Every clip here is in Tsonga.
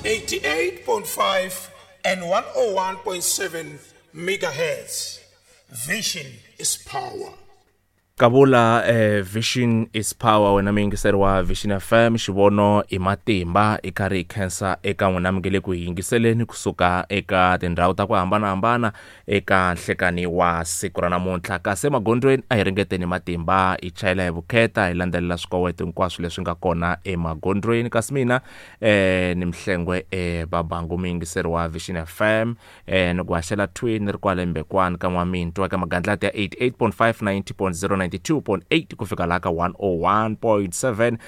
88.5 and 101.7 megahertz. Vision is power. Kavula vision is power, wena muyingiseri wa Vision FM, xivono i matimba. I karhi hi khensa eka n'wina mi nge le ku hi yingiseleni kusuka eka tindhawu ta ku hambanahambana eka nhlekani wa siku ra namuntlha. Kasi emagondzweni a hi ringeteni matimba, hi chayela hi vukheta, hi landzelela swikoweto hinkwaswo leswi nga kona emagondzweni. Kasi mina ni Mhlengwe Babangu, muyingiseri wa Vision FM, ni ku haxela twin ni ri kwale Mbekwani ka N'wamintwa eka magandlati ya 88.5, 90.0, 92.8 ku fika laha ka 101.7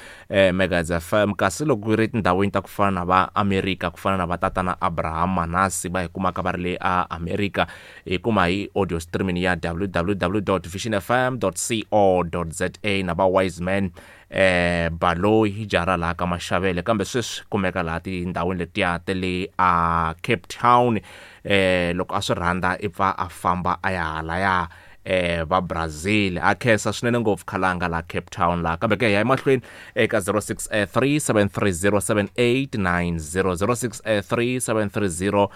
megahertz FM. Kasi loko ku ri tindhawini ta ku fana na va America, ku fana na va tatana Abraham Manasi va hi kumaka va ri le a America, hi kuma hi audio streaming ya www.visionfm.co.za, na va Wiseman Baloyi jara laha ka Maxavele, kambe sweswi kumeka laha tindhawini letiya ta le a Cape Town. Loko a swi rhandza i pfa a famba a ya halaya va Brazil. A khensa swinene ngopfu khalanga la Cape Town la. Kambe ke hi ya emahlweni eka 063 730 7890, 063 730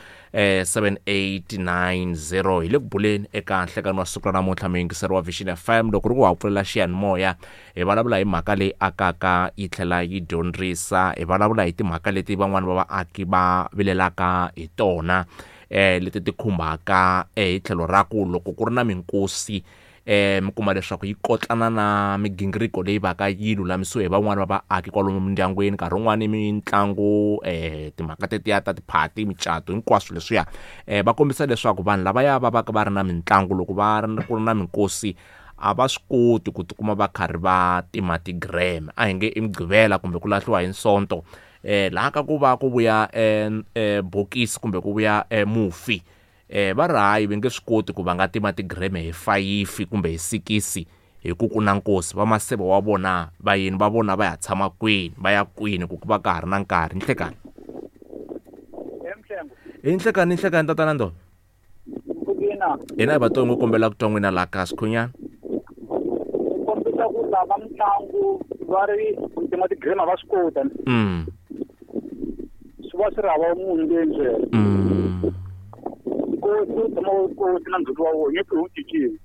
7890. Hi le ku buleni eka nhlekani wa siku ra namuntlha, muyingiseri wa Vision FM. Loko ri ku wa pfulela xiyanimoya, hi vulavula hi mhaka leyi akaka yi tlhela yi dyondzisa. Hi vulavula hi timhaka leti van'wani va vaaki va vilelaka hi tona, leti ti khumbaka hi tlhelo ra ku loko ku ri na minkosi, mi kuma leswaku yi kotlana na migingiriko leyi va ka yi lulamisiwe hi van'wani va vaaki kwalomu mindyangwini. Nkarhi wun'wani mitlangu, timhaka tetiya ta tiphati, micato, hinkwaswo leswiya, va kombisa leswaku vanhu lavaya va va ka va ri na mitlangu, loko va ri ku ri na minkosi, a va swi koti ku tikuma va karhi va tima ti-gram. A hi nge i Mugqivela kumbe ku lahliwa hi Nsonto, laha ka ku va ku vuya bokisi kumbe ku vuya mufi, va ri hayi, va nge swi koti ku va nga tima ti-gram hi 5 kumbe hi 6 hi ku ku na nkosi. Va maseve wa vona, vayeni va vona va ya tshama kwini, va ya kwini ku va ka ha ri na nkarhi? Nhlekani. Hi nhlekani, nhlekani, tatana Ndolo. Hina hi vatongo kombela ku twa n'wina laha ka Sikhunyana. Kombisa ku lava mitlangu va ri ku tima ti-gram va swi kota. Swi va swi ri hava munhu leyi ndzela. Nkosi wu tshama wu kosi na ndzhuti wa wona nyeke wu cinciwi.